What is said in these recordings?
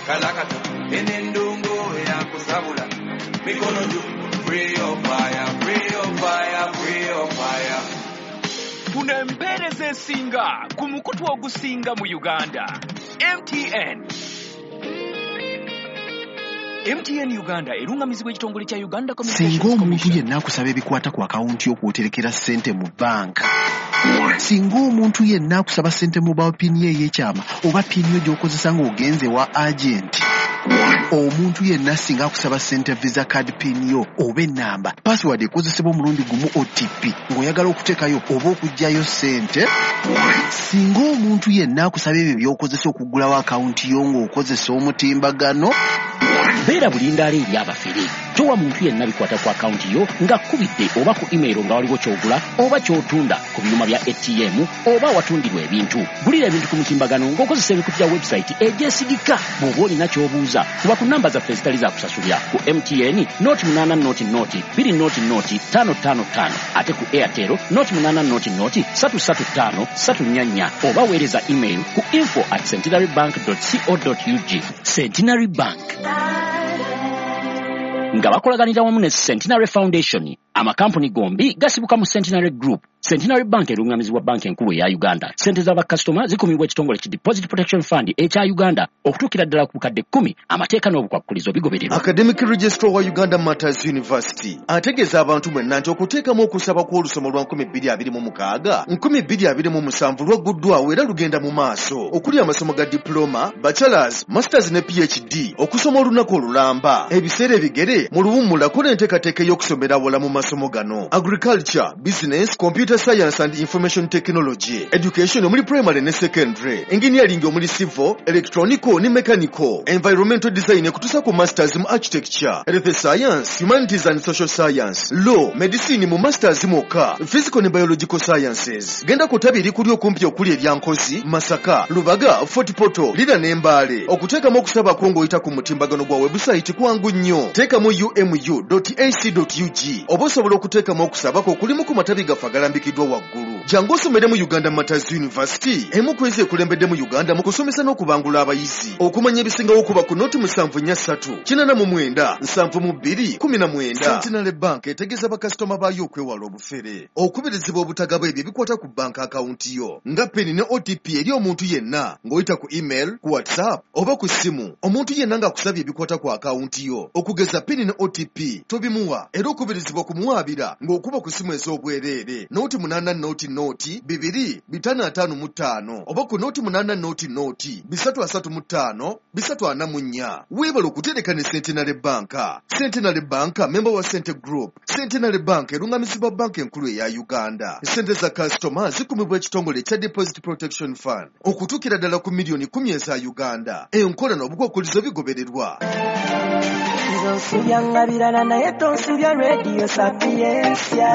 Kalakata, enendongo yakusabula. Mikono juu, free your fire, free your fire, free your fire. Funa empeereza esinga ku mukutu ogusinga mu Uganda. MTN. MTN Uganda erungamizibwa ekitongole kya Uganda Singa Communications omuntu Commission. Yenna akusaba ebikwata ku akawunti y'okwoterekera ssente mu banka, singa omuntu yenna akusaba ssente mobile PIN ye ey'ekyama oba PIN yo gy'okozesa ng'ogenze wa agenti, omuntu yenna singa akusaba ssente Visa card PIN yo oba ennamba password ekozesebwa omulundi gumu OTP ng'oyagala okuteekayo oba okuggyayo ssente, singa omuntu yenna akusaba ebyo by'okozesa okuggulawo akawunti yo ng'okozesa omutimbagano, Beera bulindaala eri abafere. Towa muntu yenna bikwata ku akawunti yo ng'akkubidde oba ku email nga waliwo ky'ogula oba ky'otunda ku byuma bya ATM oba awatundirwa ebintu. Gulira ebintu ku mutimbagano ng'okozesa emikutu gya website egyesigika. Bw'oba olina ky'obuuza, kuba ku namba zaffe ezitali za kusasulira ku MTN 080 0 0 0 5 5 5, ate ku Airtel 080 0 3 3 5 3 4 4, oba weereza email ku info@centenarybank.co.ug. Centenary Bank nga bakolaganira wamu ne Centenary Foundation. Amakampuni gombi gasibuka mu Centenary Group. Centenary Bank erungamizibwa Banka Enkulu eya Uganda. Sente z'abakasitoma zikumibwa ekitongole ki Deposit Protection Fund ekya Uganda okutuukira ddala ku bukadde 10. Amateeka n'obukwakkulizo bigobererwa. Academic Registrar wa Uganda Martyrs University ategeeza abantu mwenna nti okuteekamu okusaba kw'olusoma lwa 2026 2027 lwagguddwawo era lugenda mu maaso, okuli amasomo ga diploma, bachelors, masters ne PhD, okusoma olunaku olulamba, ebiseera ebigere, mu luwummula. Kola enteekateeka ey'okusomera awala mu masomo gano: agriculture, business, computer science and information technology, education omuli primary ne secondary, engineering omuli civil, electronical ne mechanical, environmental design ekutuusa ku masters mu architecture, health science, humanities and social science, law, medicine mu masters mwokka, physical ne biological sciences. Genda ku ttabi erikuli okumpi okuli erya Nkozi, Masaka, Lubaga, Fort Portal, Lira ne Mbaale. Okuteekamu okusabako ng'oyita ku mutimbagano gwa webusayiti kwangu nnyo. Teekamu umu ac ug oba osobola okuteekamu okusabako okulimu ku matabi gaffe agalambikiddwa waggulu. Jangu osomere mu Uganda Martyrs University, emu ku ezo ekulembedde mu Uganda mu kusomesa n'okubangula abayizi. Okumanya ebisingawo, kuba ku 074 89 72 19. Centenary Bank etegeeza bakasitoma baayo okwewala obufere. Okubirizibwa obutagaba ebyo ebikwata ku banka akawunti yo nga PIN ne OTP eri omuntu yenna ng'oyita ku email, ku WhatsApp oba ku ssimu. Omuntu yenna ng'akusabye ebikwata ku akawunti yo, okugeza PIN ne OTP, tobimuwa, era okubirizibwa kumuwaabira ng'okuba ku ssimu ez'obwereere 080 0 2 555 oba ku 080 0 335 344. Weebale okutereka ne Centenary Bank. Centenary Bank memba wa Sente Group. Centenary Bank erungamizibwa Banka Enkulu eya Uganda. Sente za kasitoma zikumibwa ekitongole ekya Deposit Protection Fund okutuukira ddala ku miliyoni 10 eza Uganda. Enkola n'obukwakkulizo bigobererwa. Nze onsubya birala naye tonsubya Radio Sapientia.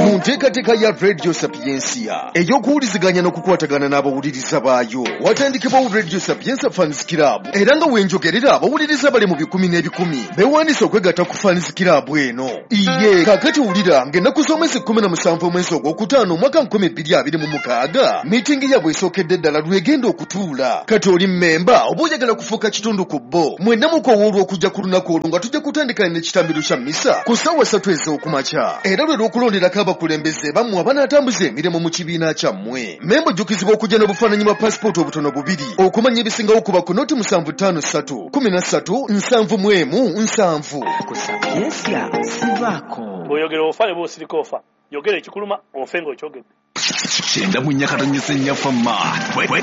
Mu nteekateeka ya Radio Sapientia ey'okuwuliziganya n'okukwatagana n'abawuliriza baayo, watandikibwawo Radio Sapientia Fans Club, era nga wenjogerera abawuliriza bali mu bikumi n'ebikumi beewandiisa okwegatta ku Fans Club eno. Iye kaakati wulira ng'ennaku z'omwezi 17 omwezi ogwokutaano omwaka 2026 miitingi yaabwe esookedde ddala lwegenda okutuula. Kati oli mmemba oba oyagala kufuuka kitundu ku bo, mwenna mukowoolwa okujja ku lunaku olwo nga tujja kutandika n'ekitambiro kya misa ku ssaawa 3 ez'okumakya, era lwe lw'okulonderako abakulembeze bammwe abanaatambuza emirimu mu kibiina kyammwe. Memba ojjukizibwa okujja n'obufaananyi bwa pasipooti obutono bubiri. Okumanya ebisingawo, kuba ku 075 3 13 71 7. Ku Sapientia sivaako. Bw'oyogera ofa, ne bw'osirika ofa. Yogera ekikuluma, ofe ng'okyogedde. 94.4 fama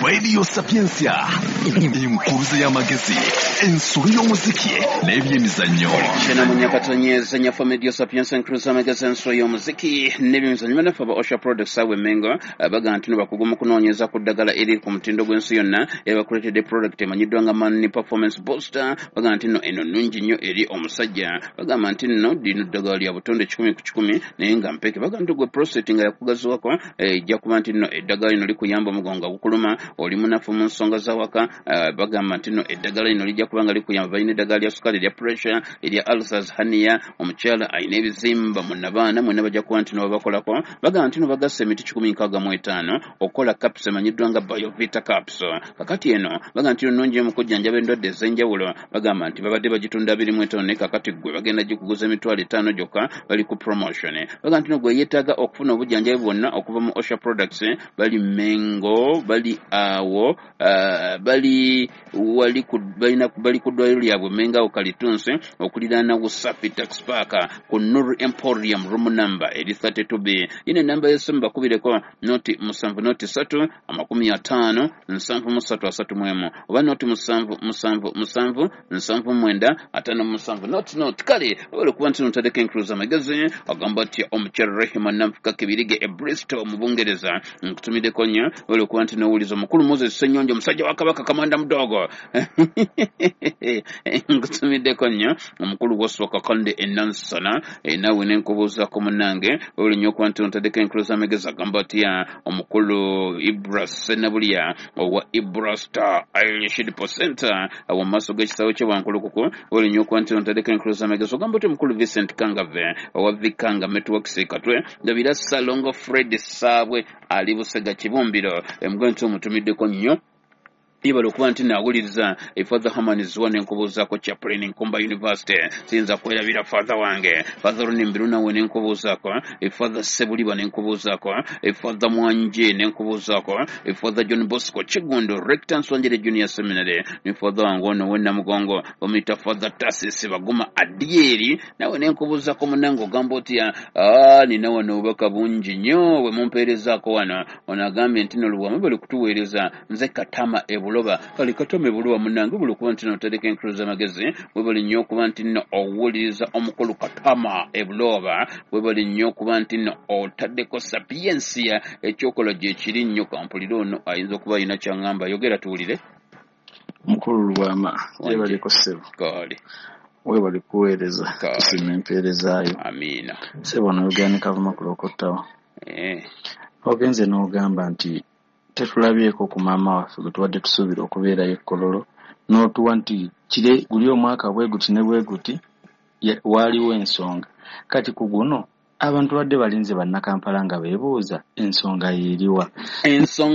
Radio Sapientia, enkuluze y'amagezi, ensolo y'omuziki n'ebyemizannyo. 94.4 fama Radio Sapientia, enkuluze y'amagezi, ensolo y'omuziki n'ebyemizannyo. Bannaffe aba Osha Products awe Mengo baga nti no bakugu mu kunoonyeza ku ddagala eriri ku mutindo gw'ensi yonna, era bakuleetedde product emanyiddwa nga Man Performance Booster. Baga nti nno eno nnungi nnyo eri omusajja. Bagamba nti nno lino ddagala lya butonde 100% naye nga mpeke. Baga nti gwe prostate nga yakugaziwako Ejja kuba nti nno eddagala lino likuyamba omugongo gukuluma, oli munafu mu nsonga z'awaka, bagamba nti nno eddagala lino lijja kuba nga likuyamba. Balina eddagala lya sukaali, erya pressure, erya ulcers, hernia, omukyala alina ebizimba mu nabaana, mwenna bajja kuba nti nno babakolako. Bagamba nti nno bagassa emiti 165 okukola capsule emanyiddwa nga Biovita capsule. Kakati eno bagamba nti nnungi mu kujjanjaba endwadde ez'enjawulo. Bagamba nti babadde bagitunda 25, naye kakati ggwe bagenda gikuguza 50,000 gyokka, bali ku promotion. Bagamba nti nno gwe yeetaaga okufuna obujjanjabi bwonna okuva mu Osha Products, bali Mengo, bali awo, bali wali ku, balina, bali ku ddwaliro lyabwe Mengo awo Kalitunsi okuliraana Wasafi Tax Park ku Nur Emporium, room number eri 32B. Yino enamba y'essimu bakubireko 0 7 0 3 50 73 31 oba 0 7 7 7 79 57 0 0. Kale wabula okuba nti notaddeko enkuluza amagezi, agamba nti omukyala Rehema Nanfuka Kibirige e Bristol mu Bungereza, nkutumiddeko nnyo. Wabula okuba nti nowuliza omukulu Moses Ssenyonjo, omusajja wa Kabaka Kamanda Mudogo, nkutumiddeko nnyo. Omukulu Waswa Kakande enansana, naawe nenkubuuzaako munnange. Wabula nnyo okuba nti notaddeko enkuluza amagezi, agamba atya omukulu Ibra Ssenabulya owa Ibra Star Irish Depot Center awo mu maaso g'ekisaawe ky'e Wankulukuku. Wabula nnyo okuba nti notaddeko enkuluza amagezi, ogamba otya omukulu Vincent Kangave owa Vikanga Networks Katwe Ndabira, Salongo Fred Saabwe ali Busega Kibumbiro, emugwe nti omutumiddeko nnyo. Yebala okuba nti naawuliriza Father Haman Zwa, nenkubuuzaako chaplain Nkumba University, siyinza kwerabira father wange Father Runimbiru, nawe nenkubuuzaako Father Sebuliba, nenkubuuzaako Father Mwanje, nenkubuuzaako Father John Bosco Kigundo, rector Nswanjere Junior Seminary, ne father wange ono wennamugongo bamuyita Father Tasis Baguma Adieri, nawe nenkubuuzaako munange. Ogamba otya? Nina wano obubaka bungi nnyo bwe mumpeerezaako wano. Ono agambye nti no Lubwama bali kutuweereza, nze Katama ebuloba. Kale Katama ebuloba munange, buli okuba nti notereka enkulu z'amagezi, webali nnyo okuba nti nno owuliriza omukulu Katama ebuloba. Webali nnyo okuba nti nno otaddeko Sapiensia, ekyokola gye kiri nnyo. Kampulire ono ayinza okuba alina kyaŋŋamba. Yogera tuwulire. Mukulu Lubwama, gyebaleko ssebo. Kale. Webali kuweereza. Kale. Tusiima empeerezaayo. Amiina. Ssebo, noyogera ne Kavuma Kulokottawa. Ogenze n'ogamba nti tetulabyeko ku maama waffe gwe tubadde tusuubira okubeerayo e Kololo, n'otuwa nti kire guli omwaka bwe guti ne bwe guti waaliwo ensonga. Kati ku guno abantu badde balinze, bannakampala nga beebuuza ensonga yeeriwa. Ensonga.